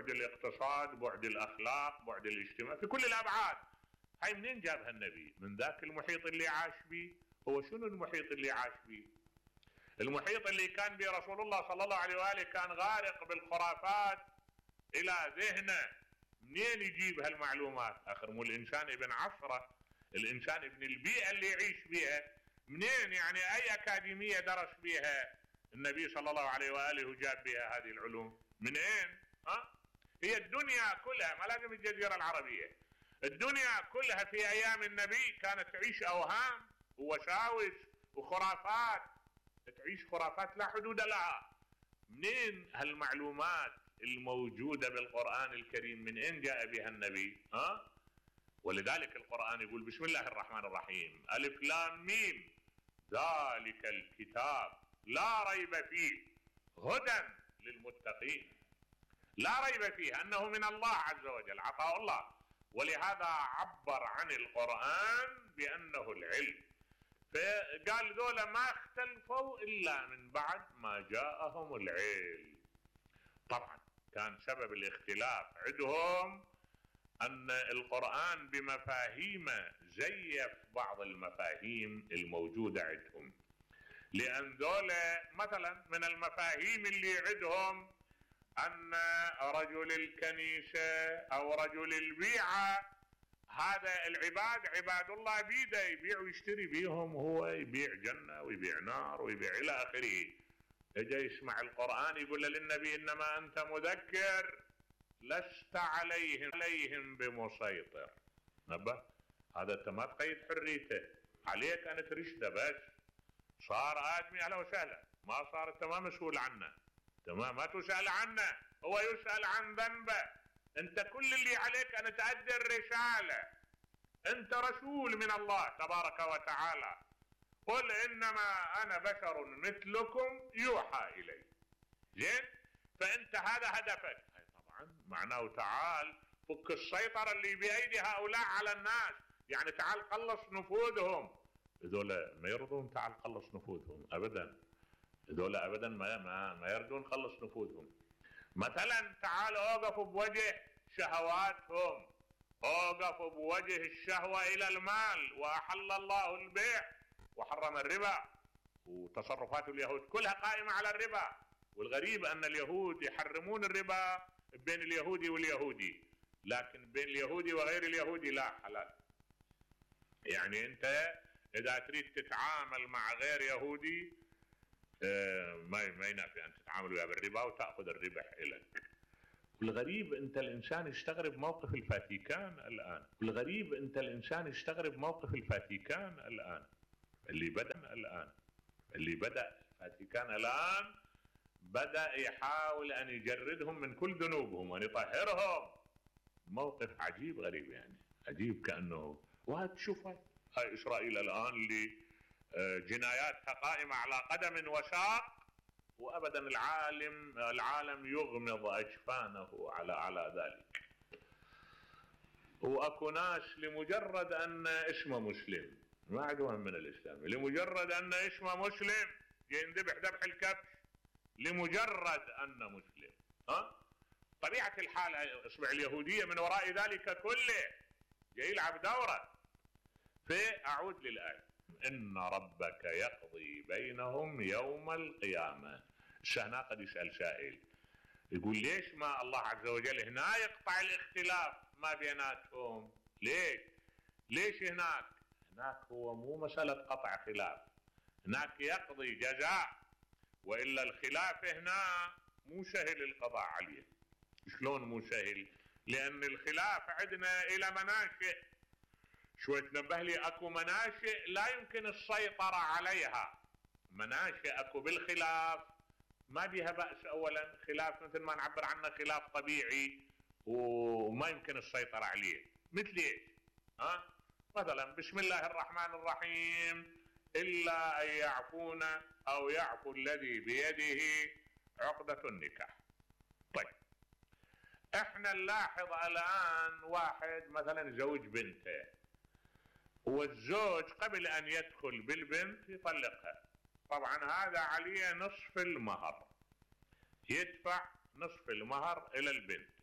بعد الاقتصاد، بعد الاخلاق، بعد الاجتماع، في كل الابعاد. هاي منين جابها النبي؟ من ذاك المحيط اللي عاش به. هو شنو المحيط اللي عاش به؟ المحيط اللي كان به رسول الله صلى الله عليه وآله كان غارق بالخرافات الى ذهنه. منين يجيب هالمعلومات؟ اخر مو الانسان ابن عصره، الانسان ابن البيئة اللي يعيش بها. منين يعني اي اكاديمية درس بها النبي صلى الله عليه وآله وجاب بها هذه العلوم؟ منين؟ هي الدنيا كلها، ما لازم الجزيرة العربية، الدنيا كلها في ايام النبي كانت تعيش اوهام ووساوس وخرافات، تعيش خرافات لا حدود لها. منين هالمعلومات الموجودة بالقرآن الكريم؟ من اين جاء بها النبي؟ ولذلك القرآن يقول بسم الله الرحمن الرحيم ألف لام ميم ذلك الكتاب لا ريب فيه هدى للمتقين. لا ريب فيه أنه من الله عز وجل، عطاء الله، ولهذا عبر عن القرآن بأنه العلم. فقال ذولا ما اختلفوا إلا من بعد ما جاءهم العلم. طبعا كان سبب الاختلاف عندهم أن القرآن بمفاهيمه زيف بعض المفاهيم الموجودة عندهم. لأن ذولا مثلا من المفاهيم اللي عندهم أن رجل الكنيسة أو رجل البيعة هذا العباد عباد الله بيده، يبيع ويشتري بيهم، هو يبيع جنة ويبيع نار ويبيع إلى آخره. اجا يسمع القرآن يقول للنبي إنما أنت مذكر لست عليهم بمسيطر. نبه هذا انت ما تقيد حريته، عليك ان ترشده بس. صار ادمي اهلا وسهلا، ما صار انت ما مسؤول عنه، تمام، ما تسأل عنه، هو يسأل عن ذنبه. انت كل اللي عليك ان تؤدي الرسالة، انت رسول من الله تبارك وتعالى. قل انما انا بشر مثلكم يوحى الي. زين؟ فانت هذا هدفك. طبعا معناه تعال فك السيطرة اللي بأيدي هؤلاء على الناس، يعني تعال قلص نفوذهم. هذول ما يرضون تعال قلص نفوذهم ابدا، هذول ابدا ما يرضون قلص نفوذهم. مثلا تعال اوقفوا بوجه شهواتهم، اوقفوا بوجه الشهوة الى المال، واحل الله البيع وحرم الربا، وتصرفات اليهود كلها قائمة على الربا. والغريب ان اليهود يحرمون الربا بين اليهودي واليهودي، لكن بين اليهودي وغير اليهودي لا، حلال. يعني انت اذا تريد تتعامل مع غير يهودي ما ينافي ان تتعامل وياه بالربا وتأخذ الربح الك. والغريب انت الانسان يستغرب موقف الفاتيكان الان، والغريب انت الانسان يستغرب موقف الفاتيكان الان اللي بدأ الفاتيكان الان بدأ يحاول ان يجردهم من كل ذنوبهم وان يطهرهم. موقف عجيب غريب، يعني عجيب، كأنه وهتشوف هاي اسرائيل الان اللي جناياتها قائمة على قدم وساق، وابدا العالم يغمض اجفانه على ذلك. واكو ناس لمجرد ان اسمه مسلم ما عندهم من الاسلام، لمجرد ان اسمه مسلم يندبح ذبح الكبش لمجرد انه مسلم. طبيعة الحال اصبع اليهودية من وراء ذلك كله جاي يلعب دورة. فاعود للآية ان ربك يقضي بينهم يوم القيامة. هنا قد يسأل سائل يقول ليش ما الله عز وجل هنا يقطع الاختلاف ما بيناتهم؟ ليش هناك هو مو مسألة قطع خلاف، هناك يقضي جزاء، وإلا الخلاف هنا مو سهل القضاء عليه. شلون مو سهل؟ لأن الخلاف عندنا إلى مناشئ. شوي تنبه لي، اكو مناشئ لا يمكن السيطرة عليها، مناشئ اكو بالخلاف ما بيها بأس. اولا خلاف مثل ما نعبر عنه خلاف طبيعي وما يمكن السيطرة عليه. مثل ايش؟ مثلا بسم الله الرحمن الرحيم الا ان يعفون او يعفو الذي بيده عقدة النكاح. طيب احنا نلاحظ الان واحد مثلا زوج بنته، والزوج قبل ان يدخل بالبنت يطلقها. طبعا هذا عليه نصف المهر، يدفع نصف المهر الى البنت.